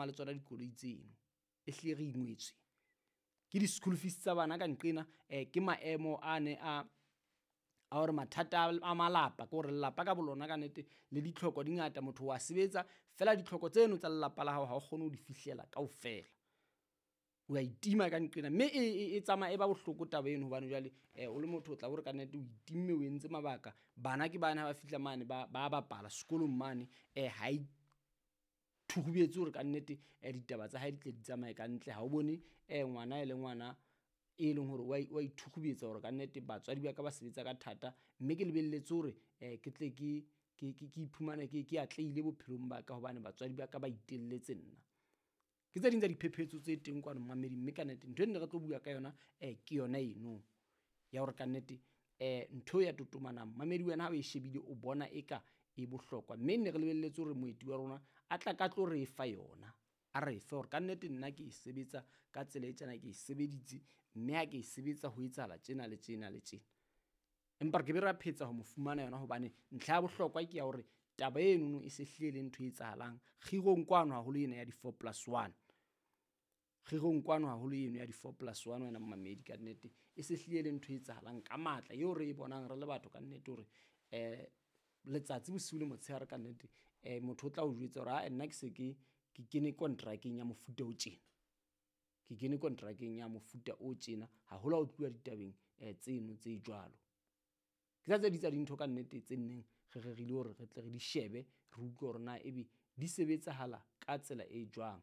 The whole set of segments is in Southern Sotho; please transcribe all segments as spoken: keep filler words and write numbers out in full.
palama le tsona dikoloi tseno. E hlile re ingwetswe ke di-school fees tsa bana ka nqena, um ke maemo a ne a a hore mathata a malapa, ke hore lelapa ka bolona ka nnete le ditlhoko di ngata, motho wa sebetsa fela ditlhoko tseno tsa lelapa la hao ha o kgone ho di fihlela kaofela. O a itima ka nqena, mme e, e, e tsamaya e ba bohloko taba eno, hobane jwale um o le motho o tla hore ka nnete o itimme, o entse mabaka. Bana ke bane ha ba fihla mane ba ba bapala sekolong mane, um ha e thurubetse hore ka nnete um ditaba tsa hae di tle di tsamaye ka ntle. Ha o bone um ngwana e le ngwana e leng hore wa wa ithurubetsa hore ka nnete batswadi ba ka ba sebetsa ka thata, mme ke lebelletse hore um ke tle ke ke ke ke iphumane ke ke atlehile bophelong ba ka hobane batswadi ba ka ba itelletse nna. Ke tse ding tsa diphephetso tse teng kwano mmamedi, mme ka nnete ntho e nne re tlo bua ka yona um ke yona eno ya hore ka nnete um ntho ya totomanang mmamedi wena ha o e shebile o bona eka e bohlokwa, mme ne re lebelletse hore moeti wa rona a tla ka tlo re fa yona, a re fe hore ka nnete nna ke e sebetsa ka tsela e tjena, ke e sebeditse mme ha ke e sebetsa ho etsahala tjena le tjena le tjena. Empa re ke be ra phetsa ho mo fumana yona hobane ntlha ya bohlokwa ke ya hore taba enono e se hlile e le ntho e etsahalang kgirong kwano, haholo ena ya di-four plus one. Kgirong kwano haholo eno ya di-four plus one wena mmamedi, ka nnete e se hlile e le ntho e etsahalang ka matla eo re e bonang re le batho ka nnete hore um letsatsi bosiu le motshehare ka nnete um motho o tla o jwetsa hore ae nna ke se ke ke kene kontrakeng ya mofuta o tjena, ke kene kontrakeng ya mofuta o tjena, haholo ha o tluwa ditabeng um tseno tse jwalo. Ke tsa tse ding tsa dintho ka nnete tse nneng re rerile hore re tle re di shebe, re utlwe hore na ebe di sebetsahala ka tsela e jwang,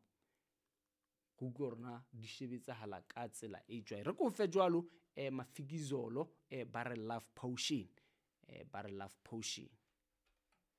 re utlwe hore na di shebetsahala ka tsela e jwang. Re ko fe jwalo um Mafikizolo um ba re love potion, um ba re love potion.